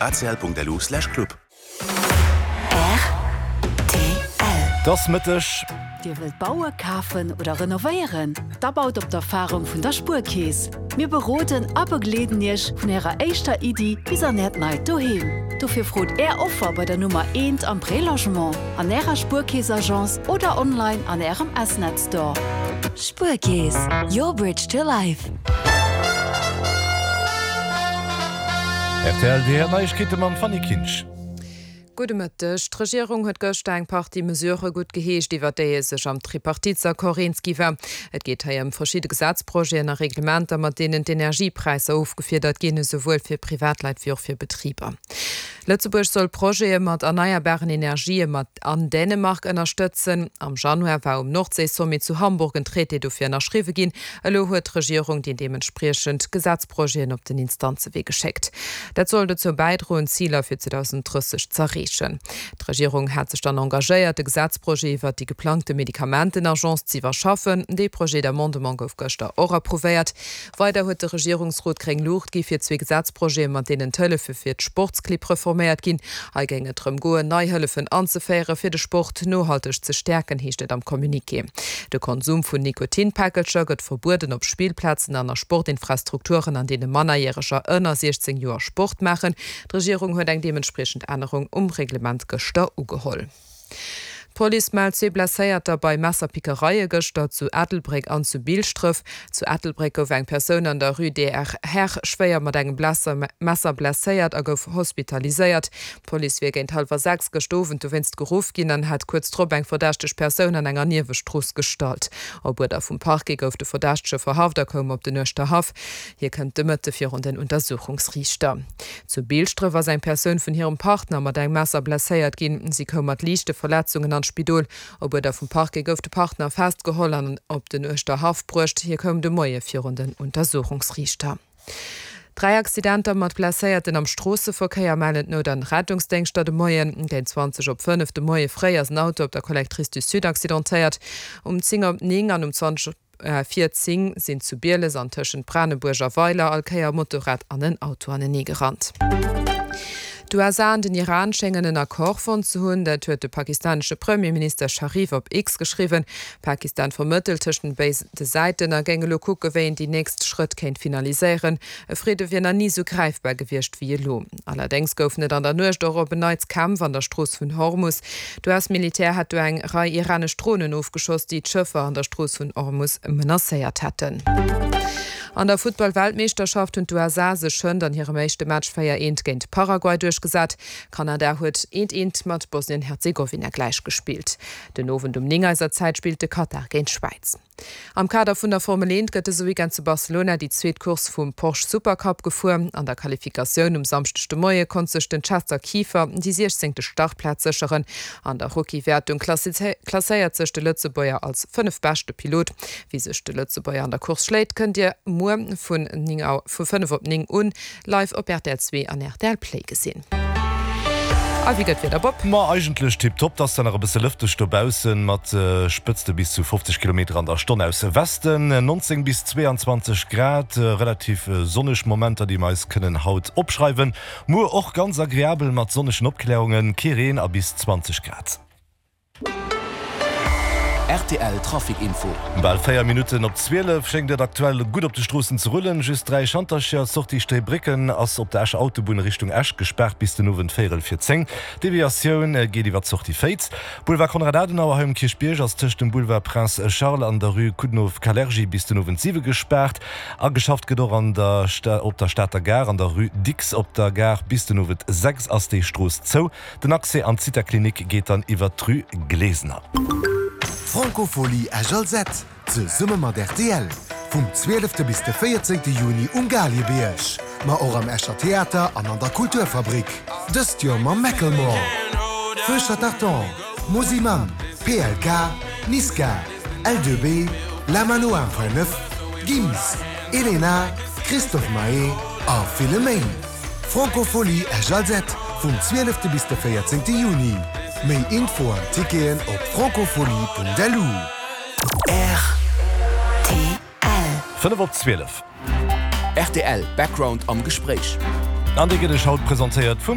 Acl.lu/club. Rtl. Et ass Mëtteg. Dir wëllt baue, kafen oder renovéieren? Da baut op d'Erfarung vun der Spuerkeess. Mir beroden a begleeden Iech vun Ärer éischter Iddi bis an Äert neit Doheem. Dofir frot Är Offer bei der Nummer eent am Prélogement, an Ärer Spuerkeess-Agence oder online an Ärem S-Net Store. Spuerkeess, your bridge to life. Rtl, Déi Neiegkeete mam Fanny Kinsch. Gudde Mëtteg. D'Regierung huet gëschter eng Partie Mesurë gutt geheescht, iwwer déi ee sech am Tripartitesaccord eens gi war. Et geet hei ëm verschidde Gesetzprojeten a Reglementer, mat deenen d'Energiepräisser ofgefiedert ginn, esouwuel fir Privatleit wéi och fir Betriber. Lëtzebuerg soll Projete mat erneierbaren Energië mat an Dänemark ënnerstëtzen. Am Januar war um Nordséi-Sommet zu Hamburg en Traité dofir ënnerschriwwe ginn. Elo huet d'Regierung déi deementspriechend Gesetzprojeten op den Instanzewee geschéckt. Dat soll dozou bäidroen, d'Ziler fir 2030 z'erreechen. D'Regierung hat sech dann engagéiert, de Gesetzprojet iwwert déi geplangte Medikamentenagence z'iwwerschaffen. Dee Projet d'amendement gouf gëschter och approuvéiert. Weider huet de Regierungsrot gréng Luucht gi fir zwee Gesetzprojete, mat deenen d'Hëllefe fir d'Sportsclibb reforméiert ginn. Hei géing et drëm goen, nei Hëllefen anzeféiere fir de Sport nohalteg ze stäerken, heescht et am Communiqué. De Konsum vun Nikotinpäckelcher gëtt verbueden op Spillplazen an a Sportinfrastrukturen, an deene Mannerjäreger ënner 16 Joer Sport maachen. D'Regierung huet eng deementspriechend Ännerung um Reglement gëschter ugeholl. D'Police mellt zwee Blesséierter bei Messerpickereie gëschter zu Ettelbréck an zu Bilschdref. Zu Ettelbréck gouf eng Persoun an der Rue DR Herr schwéier mat engem Messer blesséiert a gouf hospitaliséiert. D'Police wier géint hallwer 6 gëscht Owend dowéinst geruff ginn an hätt kuerz drop eng verdächteg Persoun an enger Niewestrooss gestallt. Op Uerder vum Parquet gouf de Verdächtege verhaft a koum op den Uerschterhaff. Hie kënnt de Mëtte virun den Untersuchungsriichter. Zu Bilschdref ass eng Persoun vun hirem Partner mat engem Messer blesséiert ginn. Si koum mat liichte Verletzungen an d'Spidol. Op Uerder vum Parquet gouf de Partner festgeholl an op den Uerschterhaff bruecht. Hie koum de Moie virun den Untersuchungsriichter. 3 Accidenter mat Blesséierten am Stroosseverkéier mellen d'Nout an Rettungsdéngschter de Moien. Géint 20 op 5 de Moie fréi ass en Auto op der Collectrice du Sud accidentéiert. Um 10 op 9 an um 20 op vir 10 sinn zu Bieles an tëschent Branebuerg a Weiler all Kéier e Motorrad an en Auto anenee gerannt. D'USA an den Iran schéngen en Accord fonnt ze hunn. Dat huet de pakistanesche Premierminister Sharif op X geschriwwen. Pakistan vermëttelt tëschent den béide Säiten a géing elo kucke wéi een déi nächst Schrëtt kéint finaliséieren. E Fridde wier nach ni sou gräifbar gewiescht wéi elo. Allerdéngs goufen et an der Nuecht och op en Neits Kämpf an der Strooss vun Hormus. D'US-Militär hätt do eng Rei iranesch Dronen ofgeschoss, déi d'Schëffer an der Strooss vun Hormus menacéiert hätten. An der Futtball-Weltmeeschterschaft hunn d'USA sech hënt an hirem éischte Match 4 eent géint Paraguay duerchgesat. Kanada huet eent eent mat Bosnien-Herzegowina gläichgespillt. Den Owend um 9 eiser Zäit spillt de Katar géint d'Schwäiz. Am Kader vun der Formel 1 gëtt dëse Weekend zu Barcelona déi zweet Course vum Porsche Supercup gefuer. An der Qualifikatioun um Samschdeg de Moie konnt sech den Chester Kieffer déi siechzéngte Startplaz sécheren. An der Rookie-Wäertung klasséiert sech de Lëtzebuerger als fënnefbeschte Pilot. Wéi sech de Lëtzebuerger an der Course schléit, kënnt Dir muer vun 5 op 9 un Live op rtl 2 an rtl Play gesinn. A wéi gëtt d'Wieder, Bob? Ma eigentlech tiptop, 't ass zwar nach e bësse lëfteg dobaussen, mat Spëtzte bis zu 50 Kilometer an der Stonn aus Westen, 19 bis 22 Grad, relativ sonneg Momenter déi mer eis kënnen haut opschreiwen. Muer och ganz agreabel mat sonnegen Opklärungen, kee Reen a bis 20 Grad. Rtl Trafic Info. Bal 4 Minutten op 12 schéngt et aktuell gutt op de Stroossen ze rullen. Just 3 Schantercher, Sortie Stréibrécken ass op der Escher Autobunn Richtung Esch gespaart bis den Owend véierel vir 10. Deviatioun geet iwwer d'Sortie Féiz. Boulevard Konrad Adenauer hei um Kierchbierg ass tëscht dem Boulevard Prince Charles an der Rue Coudenhove-Kalergi bis den Owend 7 gespaart. Ageschafft gëtt och an der op der Stater Gare an der Rue Dicks op der Gare. Bis den Owend 6 ass déi Strooss zou. Den Accès an d'Zithaklinik geet dann iwwert d'Rue Glesener. D'Francophonie Esch-Alzette, zesumme mat rtl, vum 12 bis de 14 Juni um Galiebierg, ma och am Escher Theater an an der Kulturfabrik. Dëst Joer mam Macklemore, Feu Chatterton, Mosimann, PLK, Niska, L2B, La Mano 1.9, Gims, Elena, Christophe Maé a ville méi. Francophonie Esch-Alzette vum 12 bis de 14 Juni. Méi Info an Ticketen op francophonie.lu. Rtl. 5 op 12. Rtl Background am Gespréich. An dee gëtt Iech haut presentéiert vum.